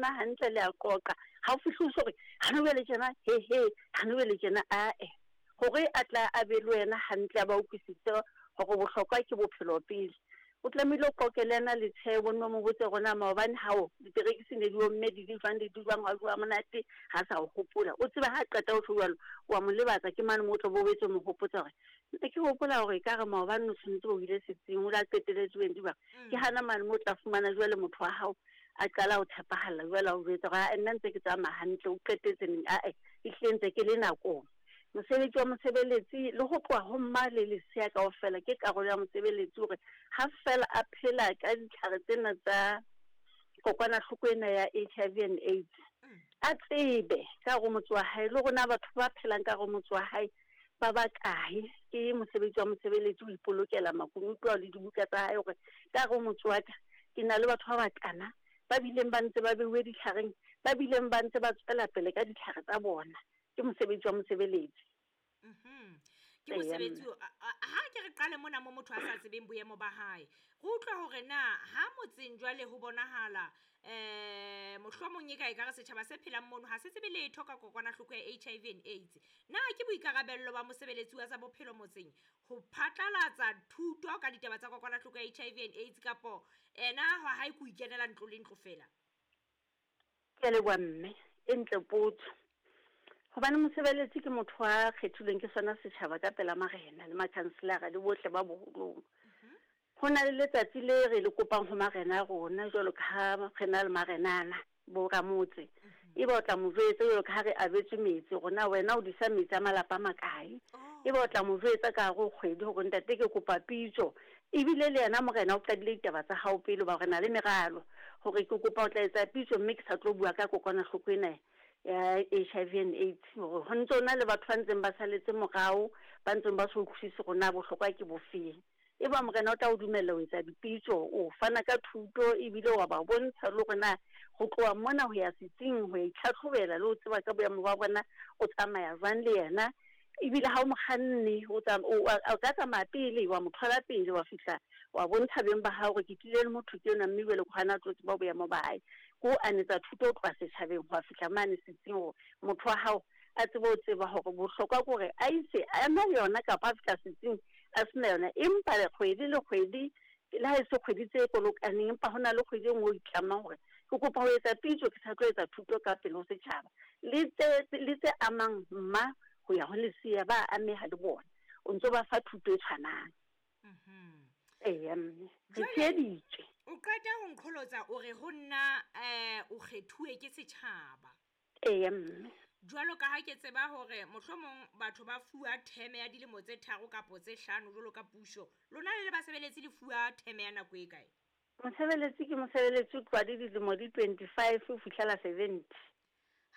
Hantle le a qoqa. Ha o fihle o so re, Hana jwale tjena, he he, hana jwale tjena, ae. Hore a tla a be le wena hantle a ba utlwisise hore bohlokwa ke bophelo pele. O tlamehile o qoqe le yena le tshehe o nne o mo botse hore na maobane hao diperekisi ne di omme di le jwang le di jwang, hwa jowa monate, ha sa o hopola. O tsebe ha a qeta ho tjho jwalo, wa mo lebatsa ke mane moo o tla bo boetse o mo hopotsa hore ne ke hopola hore ekare maobane o tshwanetse o ile setsing o la qeteletse o entse jwang. Ke hana mane moo o tla fumana jwale motho wa hao a qala ho tshepahalla jwale a o jwetsa hore ae nna ntse ke tsamaya hantle o qetetse neng ae ehlile ntse ke le nakong. Mosebetsi wa mosebeletsi le ho tloha ho mma le lesea kaofela ke karolo ya mosebeletsi hore ha feela a phela ka ditlhare tsena tsa kokwanahloko ena ya HIV and AIDS a tsebe ka hare ho motse wa hae le hore na batho ba phelang ka hare ho motse wa hae ba bakae. Ke mosebetsi wa mosebeletsi ho ipolokela makunutu ao le dibuka tsa hae hore ka hare ho motse wa ka ke na le batho ba bakana ba bileng ba ntse ba beuwe ditlhareng, ba bileng ba ntse ba tswela pele ka ditlhare tsa bona. Ke mosebetsi wa mosebeletsi. Mhm. Ke mosebetsi ha ke re qale mona mo motho a sa tsebeng boemo ba hae. Re utlwa hore na ha motseng jwale ho bonahala eh mohlomong e ka e ka re setjhaba se phelang mono ha se tsebe letho ka kokwanahloko ya HIV and AIDS. Na ke boikarabello ba mosebeletsi wa tsa bophelo motseng ho phatlalatsa thuto ka ditaba tsa kokwanahloko ya HIV and AIDS kapo ena hwa hae ke ho ikenela ntlo le ntlo feela? Ke a leboha mme, e ntle potso. Hobane mosebeletsi ke motho a kgethilweng ke sona setjhaba ka pela marena le makhanselara le bohle ba boholong. Ho na le letsatsi le re le kopang ho marena a rona jwalo ka ha re na le marenana bo ramotse. Ebe o tla mo jwetsa jwalo ka ha re abetswe metsi hore na wena o disa metsi a malapa a makae. Ebe o tla mo jwetsa ka hare ho kgwedi hore ntate ke kopa pitso. Ebile le yena morena o qadile ditaba tsa hao pele hoba re na le meralo hore ke kopa o tla etsa pitso mme ke sa tlo bua ka kokwanahloko ena ya HIV and AIDS hore ho ntse ho na le batho ba ntseng ba saletse morao ba ntseng ba sa utlwisise hore na bohlokwa ke bofeng. Eba Morena o tla o dumella ho etsa dipitso, o fana ka thuto ebile wa ba bontsha le hore na ho tloha mona ho ya setsing ho ya itlhatlhobela le ho tseba ka boemo ba bona o tsamaya jwang le yena. Ebile ha o mokganni o o ka tsamaya pele wa mo thola pele wa fihla wa bontsha beng ba hao hore ke tlile le motho ke enwa mme jwale ke hona a tlo tseba boemo ba hae. Ke ho anetsa thuto ho tloha setjhabeng ho ya fihla mane setsing hore motho wa hao a tsebe ho tseba hore bohlokwa ke hore a ise a na le yona kapa a fihla setsing a se na yona. Empa kgwedi le kgwedi, le ha e se kgwedi tse kolokaneng, empa ho na le kgwedi e nngwe o itlamang hore ke kopa ho etsa pitso ke sa tlo etsa thuto ka pele ho setjhaba. Le tse, le tse amang mma ho ya ho lesea ba ameha le bona. O ntso ba fa thuto e tshwanang. Eya mme, re tsheheditswe. O qeta ho nqholotsa o re ho nna um o kgethuwe ke setjhaba. Eya mme. Jwalo ka ha ke tseba hore mohlomong batho ba fuwa theme ya dilemo tse tharo kapo tse hlano jwalo ka puso, lona le le basebeletsi le fuwa theme ya nako e kae? Mosebeletsi ke mosebeletsi o tloha le dilemo di 25 ho fihlela 70.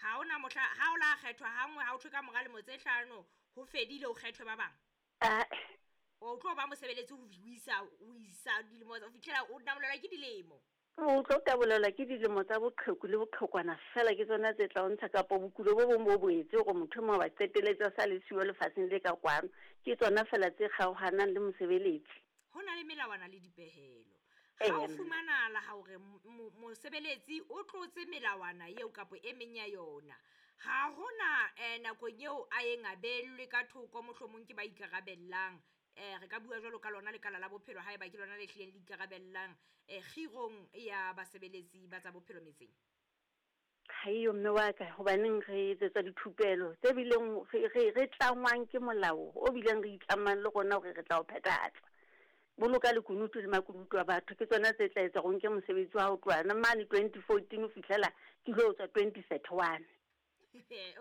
Ha ho na mohla ha o la kgethwa hanngwe ha ho thwe ka mora lemo tse hlano ho fedile ho kgethwe ba bang? Ae. O tlo ba mosebeletsi ho isa ho isa dilemo ho fihlela o namolelwa ke dilemo? O tlo tabolelwa ke dilemo tsa boqheku le boqhekwana feela ke tsona tse tla o ntsha, kapa bokulo bo bong bo boetse hore motho e mong a ba qeteletse a sa le siyo lefatsheng le ka kwano. Ke tsona feela tse kgaohanang le mosebeletsi. Ho na le melawana le dipehelo. Ha ho fumanahala hore mosebeletsi o tlotse melawana eo kapa e meng ya yona, ha ho na nakong eo a yeng a beellwe ka thoko mohlomong ke ba ikarabellang Eh, re ka bua jwalo ka lona lekala la bophelo haeba ke lona le hlileng le ikarabellang eh, kgirong ya basebeletsi ba tsa bophelo metseng. Ha eyo mme wa ka, hobaneng re etsetswa dithupelo tse bileng re, re, re tlangwang ke molao o bileng re itlamang le rona hore re tla o phethahatsa. Boloka lekunutu le makunutu a batho ke tsona tse tla etsa hore o nke mosebetsi wa hao tloha mane 2014 ho fihlela ke lo tswa 2031.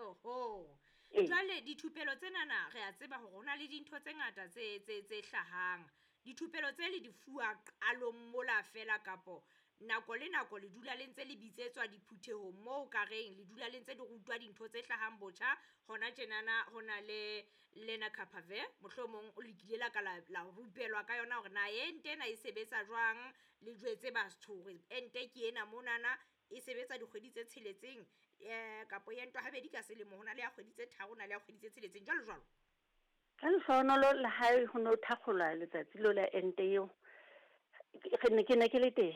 Oho. Ee. Jwale dithupelo tsenana re a tseba hore ho na le dintho tse ngata tse tse tse hlahang. Dithupelo tse le di fuwa qalong mola fela kapo nako le nako le dula le ntse le bitsetswa diphuthehong moo ka reng le dula le ntse le rutwa dintho tse hlahang botjha hona tjenana ho na le Lenacapavir mohlomong le kile la ka la la rupelwa ka yona hore na ente ena e sebetsa jwang le jwetse batho hore ente ke ena monana e sebetsa dikgwedi tse tsheletseng um kapo e entwa habedi ka selemo, ho na le ya kgwedi tse tharo, ho na le ya kgwedi tse tsheletseng, jwalo jwalo. Ka lehlohonolo la hae ho ne ho thakgolwa letsatsi leo la ente eo, ke ne ke ne ke le teng.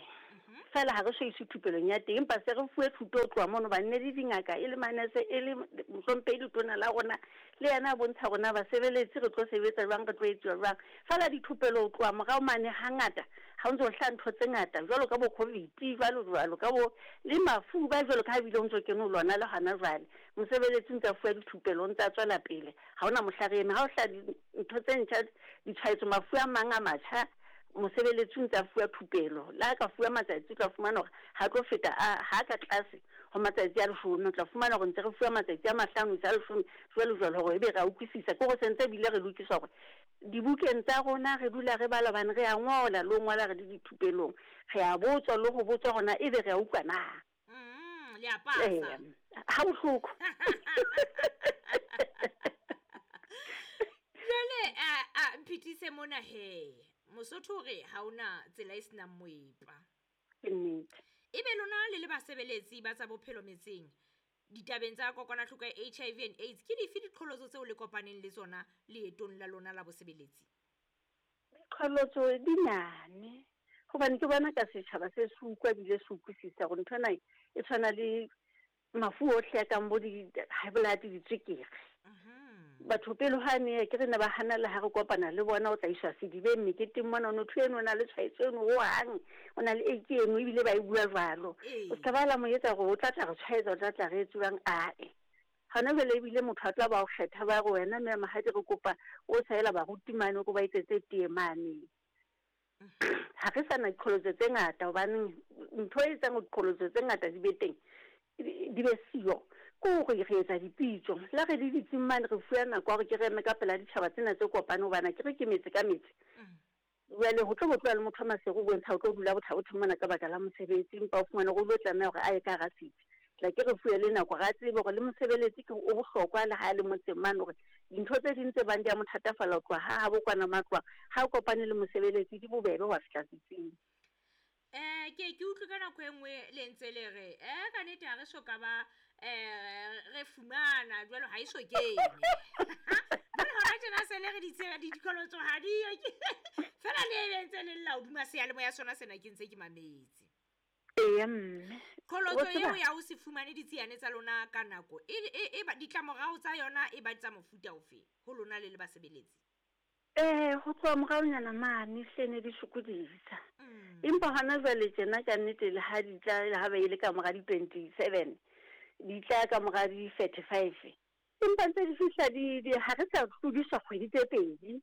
Fela ha re so iswe thupelong ya teng, empa se re fuwe thuto ho tloha mono hobane ne le dingaka, e le manese, e le mohlomphehi letona la rona, le yena a bontsha hore na basebeletsi re tlo sebetsa jwang, re tlo etsuwa jwang. Fela dithupelo ho tloha morao mane hangata ha o ntso hlaha ntho tse ngata jwalo ka bo Covid jwalo jwalo ka bo le mafu ba jwalo ka ha ebile o ntso kene ho lona le hona jwale. Mosebeletsi o ntse a fuwa dithupelo, o ntse a tswela pele, ha hona mohla re eme. Ha ho hlaha dintho tse ntjha, ditshwaetso, mafu a mang a matjha, Mosebeletsi o ntse a fuwa thupelo. Le ha a ka fuwa matsatsi, o tla fumana hore ha a tlo feta a, ha a ka tlase ho matsatsi a leshome. O tla fumana hore ntse re fuwa matsatsi a mahlano ho isa a leshome, jwalo jwalo, hore ebe re a utlwisisa. Ke hore se ntse ebile re lokiswa hore dibukeng tsa rona re dula re bala hobane re a ngola le ho ngola re le dithupelong. Re a botswa le ho botswa hore na ebe re a utlwa na. Le a pasa. Ee, ha bohloko. Jwale a mphitise mona he. Mosotho o re ha ona tsela e senang moepa. Ke nnete. Ebe lona le le basebeletsi ba tsa bophelo metseng, ditabeng tsa kokwanahloko ya HIV and AIDS, ke dife diqholotso tseo le kopaneng le tsona leetong la lona la bosebeletsi? Diqholotso di nyane, hobane ke bona ka setjhaba se se utlwa ebile se utlwisisa hore ntho ena e tshwana le mafu ohle a kang bo di-high blood, ditswekere. Batho pele hwane ke re ne ba hana le ha re kopana le bona, o tla iswa sedibeng meketeng mona, motho eno o na le tshwaetso eno hohang, o na le AIDS eno, ebile ba e bua jwalo. O ska ba la mo etsa hore o tla tla re tshwaetsa, o tla tla re etswang, ae. Hona jwale ebile motho a tla ba o kgetha ba re wena mme Mahadi re kopa o saela baruti mane o ko ba etsetse tee mane. Ha re sa na diqholotso tse ngata hobaneng ntho e etsang hore diqholotso tse ngata di be teng di be siyo ke hore re etsa dipitso. Le ha re le ditsing mane re fuwa nako ya hore ke re eme ka pela ditjhaba tsena tse kopane hobane akere ke metse ka metse. Jwale ho tlo bo tloha le motho wa Maseru o bontsha o tlo dula Botha-Bothe mona ka baka la mosebetsi, empa o fumane hore o lo tlameha hore a ye ka hara setsi. Tla ke re fuwe le nako hore a tsebe hore le mosebeletsi ke o bohlokwa le ha a le motseng mane hore dintho tse ding tse bang di a mo thatafalla ho tloha ha habo kwana matlwang, ha a kopane le mosebeletsi di bobebe ho a fihla setsing. Eh, ke ke utlwe ka nako e nngwe le ntse le re eh ka nete ha re so ka ba eh re fumana jwalo ha e so kene. Jwale hona tjena se le re ditsela di dikolotso ha di yo fela le ebe ntse le lla hodima seyalemoya sona sena ke ntse ke mametse. Eya mme. Qholotso eo ya ho se fumane ditsiane tsa lona ka nako e, e, e ba ditlamorao tsa yona e ba tsa mofuta ofe ho lona le le basebeletsi? Ee, ho tloha moraonyana mane hle ne di sokodisa. Empa hona jwale tjena ka nnete le ha di tla le ha ba ile ka mora di 27, di tla ka mora di 35. Empa ntse di fihla di, di ha re sa tlodiswa kgwedi tse pedi.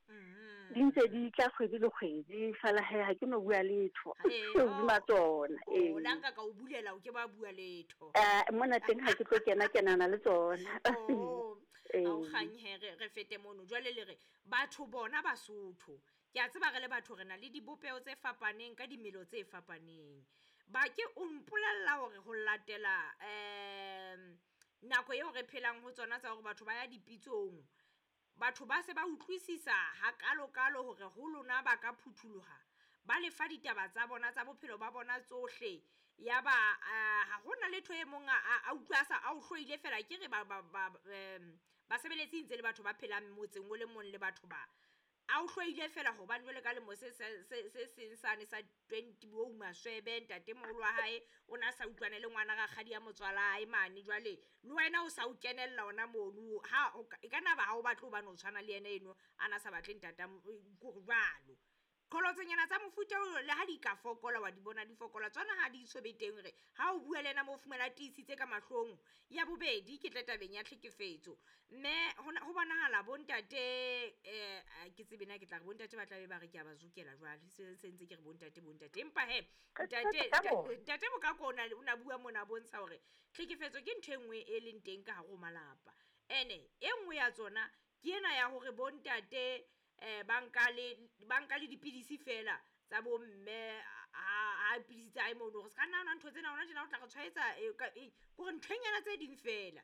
Di ntse di tla kgwedi le kgwedi, fela he ha ke no bua letho hodima tsona. Ee. La nka ka o bulela o ke ba bua letho. Eh, mona teng ha ke tlo kena kenana le tsona. Oh, ha o kgang he re re fete mono. Jwale le re Batho bona Basotho, ke a tseba re le batho re na le dibopeho tse fapaneng ka dimelo tse fapaneng. Ba ke o mpolella hore ho latela um nako eo re phelang ho tsona tsa hore batho ba ya dipitsong, batho ba se ba utlwisisa hakalo-kalo hore ho lona ba ka phutholoha, ba le fa ditaba tsa bona tsa bophelo ba bona tsohle, ya ba ha ho na letho e mong a a utlwa a sa a o hloile fela ke re ba ba ba um Basebeletsi ntse le batho ba phelang motseng o le mong le batho ba. A o hloile feela hobane jwale ka lemo se se se se seng sane sa 20 bo maswebe ntatemoholo wa hae o na sa utlwane le ngwana rakgadi ya motswalae mane jwale le wena o sa o kenella ona mono ha e ka nna ba ha o batle hobane o tshwana le yena eno a na sa batle ntata kore jwalo. Qholotsonyana tsa mofuta oo le ha di ka fokola, wa di bona di fokola, tsona ha di so be teng hore ha o bua le yena mo o fumana a tiisitse ka mahlong. Ya bobedi, ke tle tabeng ya tlhekefetso. Mme ho ho bonahala bontate um ke tsebe na ke tla re bontate ba tla be ba re ke a ba zokela jwale, se se ntse ke re bontate bontate. Empa he, ntate ntate Mokako o na o na bua mona a bontsha hore tlhekefetso ke ntho e nngwe e leng teng ka hare ho malapa. Ene e nngwe ya tsona ke ena ya hore bontate eh ba nka le ba nka le dipidisi fela tsa bo mme ha pidisi tsa hae mono gore se ka nna nwa ntho tsena hona tjena o tla re tshwaetsa kore nthonyana tse ding fela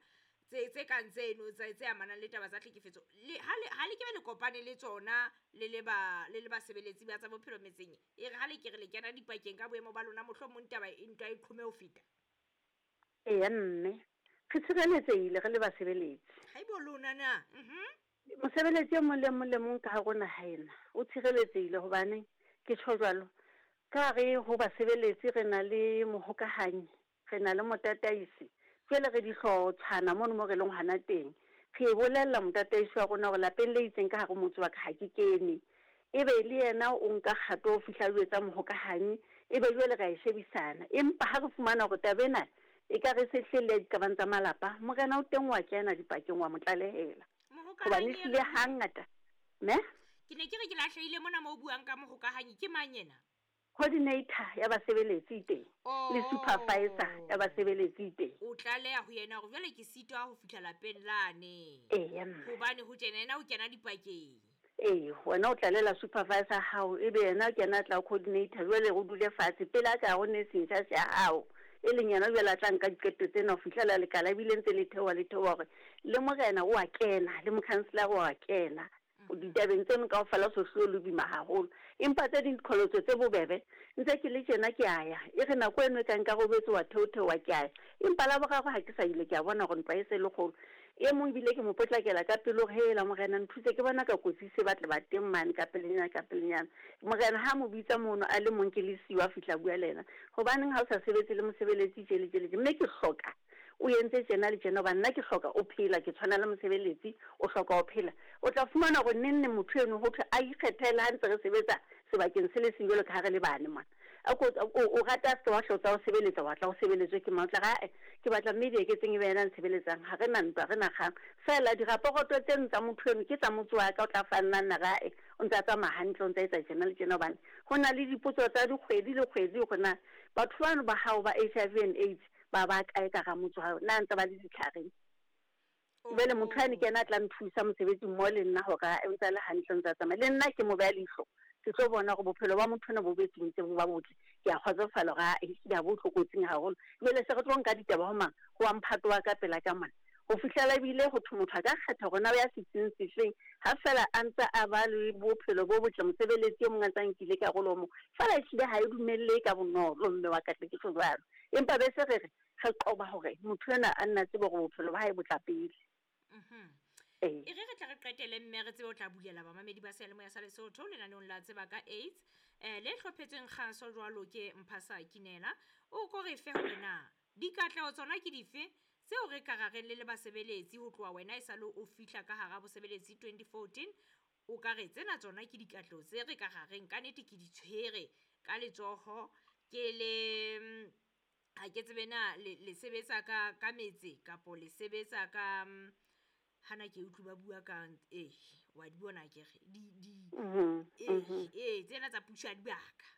tse tse kang tseno tse tse amanang le taba tsa tlhekefetso le ha le ha le kebe le kopane le tsona le le ba le le basebeletsi ba tsa bophelo metseng e re ha le ke re le kena dipakeng ka boemo ba lona mohlomong taba e ntwa e qhome ho feta. Eya mme re tshireletsehile re le basebeletsi. Haibo lona na. Mosebeletsi e mong le mong le mong ka hare ho naha ena o tshireletsehile. Hobaneng ke tjho jwalo? Ka hare ho basebeletsi re na le mohokahanyi, re na le motataisi, jwale re dihlotshwana mono mo re leng hona teng. Re e bolella motataisi wa rona hore lapeng le itseng ka hare ho motse wa ka ha ke kene. Ebe le yena o nka kgato ho fihla a jwetsa mohokahanyi, ebe jwale re a e shebisana. Empa ha re fumana hore taba ena ekare e se hlile e le ya diqabang tsa malapa, morena o teng wa kena dipakeng wa mo tlalehela. Hobane Mohokahanyi ehlile hangata Ne? Ke ne ke re ke lahlehile mona mo o buang ka mohokahanyi, ke mang yena? Coordinator ya basebeletsi e teng, le supervisor ya basebeletsi e teng. O tlaleha ho yena hore jwale ke sitwa ho fihla lapeng lane. Eya mme. Hobane ho tjena yena o kena dipakeng. Ee, wena o tlalela supervisor ya hao, ebe yena o kena a tla ho coordinator, jwale o dule fatshe pele a ka ya ho nursing charge ya hao, e leng yena jwale a tla nka diqeto tsena ho fihlela lekala ebile ntse le theoha le theoha hore le morena o a kena, le mokhanselara o a kena. Ditabeng tseno kaofela ho so hlile ho le boima haholo. Empa tse ding diqholotso tse bobebe, ntse ke le tjena ke a ya. E re nako eno e ka nka robetse wa theotheoha ke a ya. Empa Laboraro ha ke sa ile ke a bona hore ntwa e se e le kgolo. E mong ebile ke mo potlakela ka pelo hore, Hela morena nthuse ke bona ka kotsi e se ba tle ba teng mane ka pelenyana ka pelenyana. Morena ha a mo bitsa mono a le mong ke le siyo a fihla a bua le yena, Hobaneng ha o sa sebetse le mosebeletsi tje le tje le tje? Mme ke hloka o entse tjena le tjena hobane nna ke hloka o phela, ke tshwana le mosebeletsi, o hloka ho phela. O tla fumana hore neng neng motho eno ho thwe a ikgethele ha ntse re sebetsa sebakeng se le seng jwalo ka ha re le bane mona. A ko, o, o rata a se ke wa hlotsa o sebeletsa, wa tla o sebeletswe ke mang? O tla re, Ae, ke batla mme Dieketseng e be yena a ntshebeletsang. Ha re na ntwa, ha re na kgang. Feela diraporoto tseno tsa motho eno ke tsa motse wa ka, o tla fa nna nna re, Ae, o ntse a tsamaya hantle, o ntse a etsa tjena le tjena hobane ho na le dipotso tsa dikgwedi le kgwedi hore na batho bano ba hao ba HIV and AIDS ba ba kae ka hara motse wa hao, na ntse ba le ditlhareng. Jwale motho yane ke yena a tla nthusa mosebetsing mmoho le nna hore a ntse a le hantle, o ntse a tsamaya. Le nna ke mo beha leihlo, ke tlo bona hore bophelo ba motho enwa bo betse ntse bo ba botle. Ke a kgotsofala hore aa ehlile ha bo tlokotsing haholo. Jwale se re tlo nka ditaba ho mang? Ho wa mphato wa ka pela ka mona. Ho fihlela ebile ho thwe motho a ka kgetha hore na o ya setsing sefeng ha feela a ntse a ba le bophelo bo botle, mosebeletsi e mong a ntse a nkile karolo ho mong. Feela ehlile ha e dumellehe ka bonolo mme wa ka tle ke tjho jwalo. Empa be se re re, re qoba hore motho enwa a nne a tsebe hore bophelo ba hae bo tla pele. Ee. E re re tle re qetele mme re tsebe ho tla bulela bamamedi ba seyalemoya sa Lesotho lenaneong la Tseba ka AIDS eh, le hlophetsweng kgaso jwalo ke Mphasa Kinela. O ko re fe hore na dikatleho tsona ke dife tseo re ka ra reng le le basebeletsi ho tloha wena e sale o fihla ka hara bosebeletsi 2014 o ka re tsena tsona ke dikatleho tse re ka ra reng ka nete ke di tshwere ka letsoho ke le ha ke tsebe na le, le sebetsa ka, ka metse kapo le sebetsa ka hana ke utlwe ba bua ka eh wa di bona ke re di di eh eh tsena tsa puso ya dibaka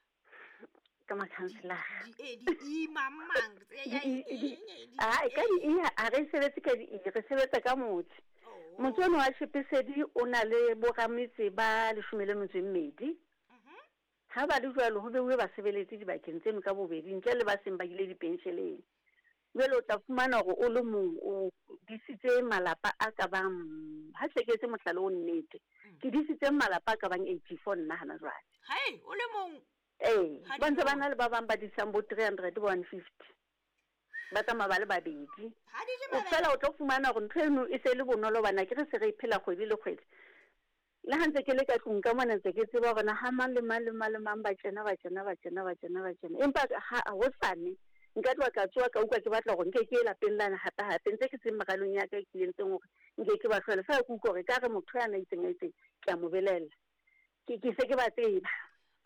ka makhanselara di eh di i mang mang tse ya a ka di i ha re sebetse ka di i re sebetsa ka motse oh. motse ono wa Shepesedi o na le borametse ba 12. Ha ba le jwalo, ho beuwe basebeletsi dibakeng tseno ka bobedi, ntle le ba seng ba ile dipensheleng. Jwale o tla fumana hore o le mong o disitse malapa a ka bang, ha hle ke etse mohlala o nnete, ke disitse malapa a ka bang 84 nna hana jwale. Hai, o le mong? Ee, Ha ba ntse ba di na le ba bang ba disang bo 300, bo 150. Ba tsamaya ba le babedi. Ha di je O mabele. fela o tlo fumana hore ntho eno e se e le bonolo hobane akere se re e phela kgwedi le kgwedi. Le ha ntse ke le ka tlung ka mona ntse ke tseba hore na ha mang le mang le mang le mang ba tjena ba tjena ba tjena ba tjena ba tjena. Empa ha hosane nka tloha ka tsoha ka utlwa ke batla hore nke ke ye lapeng lane hape hape ntse ke seng meralong ya ka e ke entseng hore nke ke ba hlole. Feela ke utlwa hore ekare motho yana a itseng a itseng ke a mo belaella. Ke ke se ke ba tseba.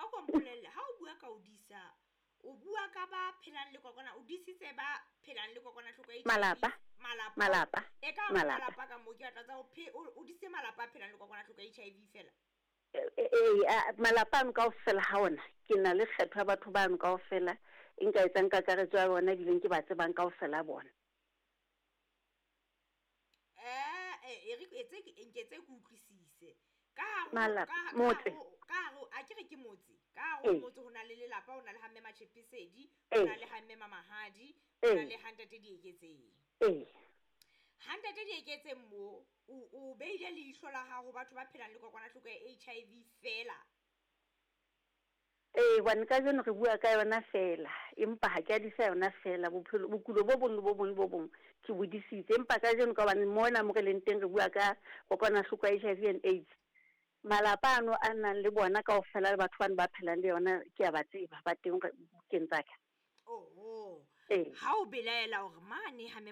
A ko mpolelle ha o bua ka o disa o bua ka ba phelang le kokwana o disitse ba phelang le kokwanahloko ya HIV Malapa. malapa Malapa. e ka Malapa. malapa ka mo ke batla tsa o phe o disitse malapa a phelang le kokwanahloko ya HIV fela Ee, malapa ano kaofela ha ona ke na le kgetho ya batho bano kaofela e nka etsang kakaretso ya bona ebileng ke ba tsebang kaofela bona. Eh, e re etse nke tse ke utlwisise. Ka hare ho- Malapa, ka- ka motse. hare ho- ka hare ho- a ke re ke motse. Ka hare ho motse ho na le lelapa, ho na le ha mme Matjhepesedi, ho na le ha mme Mamahadi, ho na le ha ntate Dieketseng. Ha ntate Dieketseng mo, o, o beile leihlo la hao ho batho ba phelang le kokwanahloko ya HIV fela. Ee, hobane kajeno re bua ka yona feela, empa ha ke a disa yona feela. Bophelo, bokulo bo bong le bo bong le bo bong ke bo disitse. Empa kajeno ka hobane mona mo re leng teng re bua ka kokwanahloko ya HIV and AIDS. Malapa ano a nang le bona kaofela le batho bano ba phelang le yona, ke a ba tseba, ba teng bukeng tsa ka. Oho. Ee. Ha o belaela hore mane ha